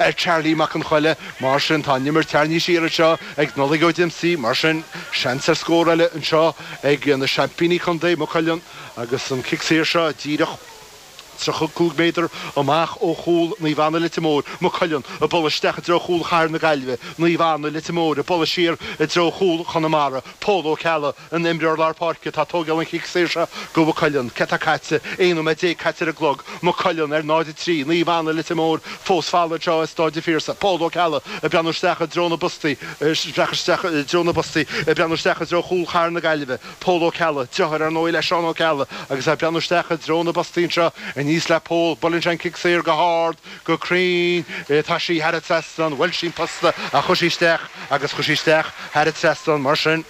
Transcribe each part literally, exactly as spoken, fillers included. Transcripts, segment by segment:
Ar Charlie Mac an Choille. Mar sin tá an imirt tarraingthe siar anseo ag Nollaig Ó Diomsaí. Mar sin seans ar scór eile anseo ag na seaimpíní contae, Maigh Cuilinn, agus an cic saor seo díreach tríocha cúig méadar amach ó chúl Naomh Anna Leitir Móir. Maigh Cuilinn ag bualadh isteach i dtreo chúl Chathair na Gaillimhe. Naomh Anna Leitir Móir ag bualadh siar i dtreo chúl Chonamara. Pól Ó Ceallaigh, an imreoir lár páirce, atá ag tógáil an chic saor seo do Mhaigh Cuilinn. Céard atá caite? Aon nóiméad déag caite ar an gclog. Maigh Cuilinn ar náid a trí, Naomh Anna Leitir Móir fós folamh anseo i Stáid an Phiarsaigh. Pól Ó Ceallaigh ag breathnú isteach i dtreo na bpostaí, isteach i dtreo na bpostaí, ag breathnú isteach i dtreo chúl Chathair na Gaillimhe. Pól Ó Ceallaigh, deartháir ar ndóigh le Seán Ó Ceallaigh, agus é ag breathnú isteach i dtreo na bpostaí anseo aníos le Pól. Buaileann sé an cic saor go hard, go cruinn. Tá sí thar an trasnán. Bhuail sí an posta ach chuaigh sí isteach agus chuaigh sí isteach thar an trasnán. Mar sin,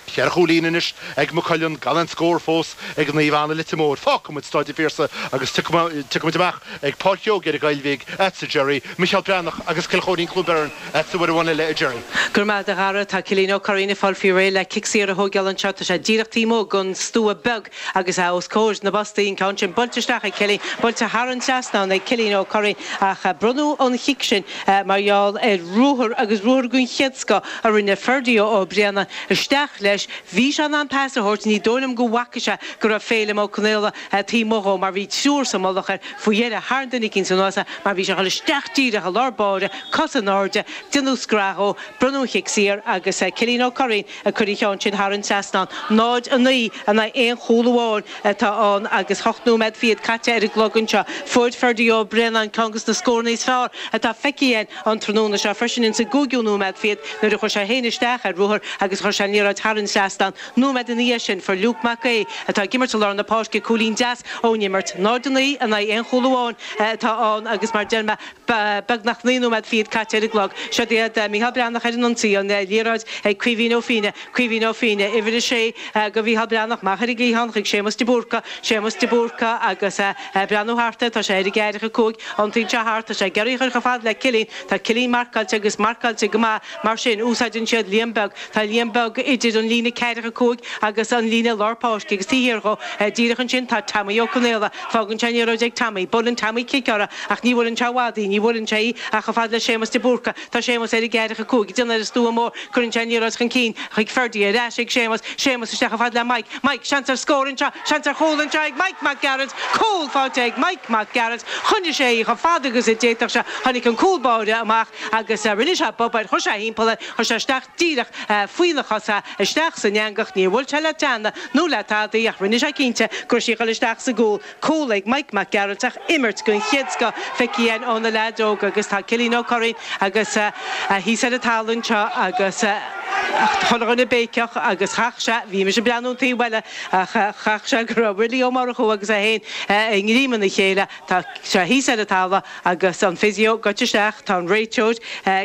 ceithre chúilín anois ag Maigh Cuilinn, gan aon scór fós ag Naomh Anna Leitir Móir. Fágfaidh muid Stáid an Phiarsaigh agus tiocfaidh muid amach ag Páirc Óige ar an gCoill Bhig, agatsa Jerry, Micheál Breathnach agus Cill Chóirín Cluain Bheirn agatsa uair amháin eile a Jerry. Go raibh maith agat a Dhara. Tá Cillian Ó Curraoin ag fáil faoi réir le cic saor a thógáil anseo. Tá sé díreach taobh amuigh den stua beag agus é os comhair na bpostaí. An ceann sin buailte isteach ag Cillian, buailte thar an trasnán ag Cillian Ó Curraoin ach bronnadh an chic sin mar gheall ar ruathar agus ruathar den chéad scoth a rinne Ferdie Ó Braonáin isteach leis. Bhí sé in ann pas a thabhairt, ní dóigh liom go bhfaca sé go raibh Féilim Ó Conaola taobh amuigh dhó mar bhí triúr sa mullach air. Faoi dheireadh tharraing duine eicínt anuas é mar bhí sé ag dul isteach díreach i lár báire, cos in airde, déanadh scraith dhó, bronnadh an chic saor agus Cillian Ó Curraoin ag cur an cheann sin thar an trasnán. náid a naoi in aghaidh aon chúl amháin atá ann agus hocht nóiméad fichead caite ar an gclog anseo. Fuair Ferdie Ó Braonáin ceann de na scóranna is fearr atá feicthe againn an tráthnóna seo freisin insa gcúigiú nóiméad fichead nuair a chuir sé féin isteach ar ruathar agus chuir sé an liathróid thar an trasnán. Nóiméad ina dhiaidh sin fuair Luke Mac Aodha atá ag imirt i lár na páirce cúilín deas ón imirt. náid a naoi in aghaidh aon chúl amháin atá ann agus mar deir mé beagnach naoi nóiméad fichead caite ar an gclog. Seo iad Micheál Breathnach ar an ionsaí, an liathróid ag Caoimhín Ó Fiaine, Caoimhín Ó Fiaine, uimhir a sé do Mhícheál Breathnach, amach ar an gcliathán chuig Séamus de Búrca, Séamus de Búrca agus ag breathnú thart air, tá sé ar an gceathracha cúig, iontaíonn sé thart, tá sé ag iarraidh a chur chomh fada le Cillian, tá Cillian marcáilte agus marcáilte go maith, mar sin úsáideann siad Liam Beag, tá Liam Beag idir an líne ceathracha cúig agus an líne lár páirce agus taobh thiar dhó, díreach ansin tá Tommy Ó Conaola, fágann sé an liathróid ag Tommy, buaileann Tommy cic uirthi ach ní bhuaileann sé i bhfad í, ní bhuaileann sé í ach chomh fada le Séamus de Búrca, tá Séamus ar an gceathracha cúig, ag déanamh ar an stua mór, cuireann sé an liathróid chun cinn chuig Ferdie, ar ais ag Séamus, Séamus isteach chomh fada le Mike, Mike, seans ar scór anseo, seans ar chúl anseo ag Mike Mac Gearailt, cúl faighte ag Mike Mac Gearailt, choinnigh sé í chomh fada agus a d'fhéadfadh sé, tháinig an cúl báire amach agus rinne sé bob air, chuir sé thimpeall air, chuir sé isteach díreach faoina chosa, isteach san eangach, níor bhuail sé le teanna nó le tada ach rinne sé cinnte go raibh sí ag dul isteach sa gcúl, cúl ag Mike Mac Gearailt ach imirt den chéad scoth feicthe againn ó na leaids óga agus tá Cillian Ó Curraoin agus thíos ar an talamh anseo agus chuile dhuine béiceach agus chaith sé, bhí mise ag breathnú an taobh eile ach chaith sé go raibh Willie Ó Murchú agus é féin i ngreim ina chéile. Tá sé thíos ar an talamh agus an physio goite isteach, tá an réiteoir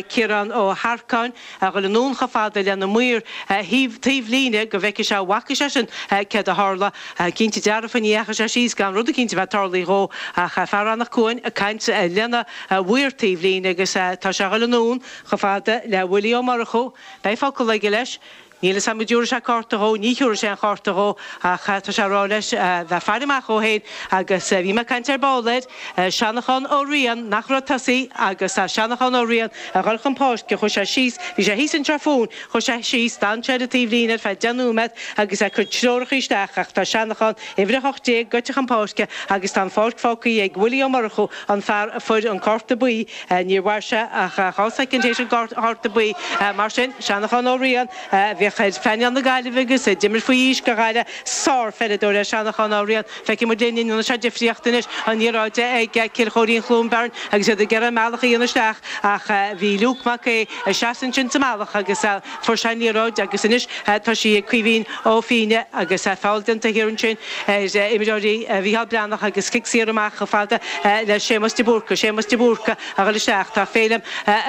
Ciarán Ó hEarcáin a dhul anonn chomh fada lena maor taobh líne go bhfeicfidh sé an bhfaca seisean céard a tharla. Cinnte dearfa ní dheachaigh sé síos gan rud eicínt a bheith tarlaithe dhó ach fear Anach Cuain ag caint lena mhaor taobh líne agus tá sé a dhul anonn chomh fada le Willie Ó Murchú. Beidh focal aige leis. Níl a fhios agam an dtabharfaidh sé cárta dhó, ní thiúrfaidh sé an chárta dhó ach tá sé ag rá leis bheith ag faire amach dhó féin agus bhí mé ag caint ar ball air, Seanachán Ó Riain, nach raibh tosaí agus tá Seanachán Ó Riain ag dhul chun páirce, chuaigh sé síos, bhí sé thíos anseo fúinn, chuaigh sé síos, d'fhan sé ar an taobhlíne ar feadh deich nóiméad agus é ag cur treoracha isteach ach tá Seanachán, uimhir a hocht déag, goite chun páirce agus tá an pháirc fágtha ag Willie Ó Murchú, an fear a fuair an cárta buí, níor mhair sé ach dhá soicind théis an chárta buí, mar sin, Seanachán Ó Riain, a bhíodh ar phainéal na Gaillimhe agus a d'imir faoi aois do Ghaillimh, sárpheileadóir é Seanachán Ó Riain. Feicfidh muid linn an ndéanfaidh sé difríocht anois an liathróid ag Cill Chóirín Chluain Bheirn agus iad ag iarraidh a mbealach a dhéanamh isteach ach bhí Luke Mac Aodha ag seasamh ansin sa mbealach agus fuair sé an liathróid agus anois tá sí ag Caoimhín Ó Fiaine agus feall déanta thiar ansin ar imreoirí Mhícheál Breathnach agus cic saor amach chomh fada le Séamus de Búrca. Séamus de Búrca a dhul isteach. Tá Féilim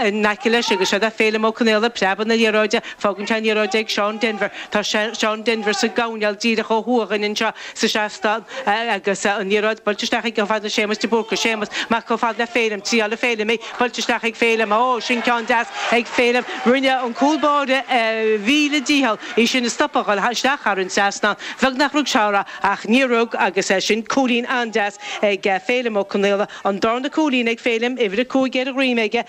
in aice leis agus seo é Féilim Ó Conaola, preabadh na liathróide, fágann sé an liathróid ag Seán Denver Tá Seán Denver sa gcoirnéal díreach ó thuaidh anseo sa seastán agus an liathróid buailte isteach ag fad le Séamus de Búrca Séamus amach chomh fad le Félim trí le Félim é buailte isteach ag Félim ó sin ceann deas ag Félim rinne an cúl báire mhíle dícheall í sin a stopadh isteach thar an trasnán Bheag nach rug seara ach ní rug agus é sin cúilín an-deas ag Félim Ó Conaola an darna cúilín ag Félim uimhir a cúig ar a dhroim aige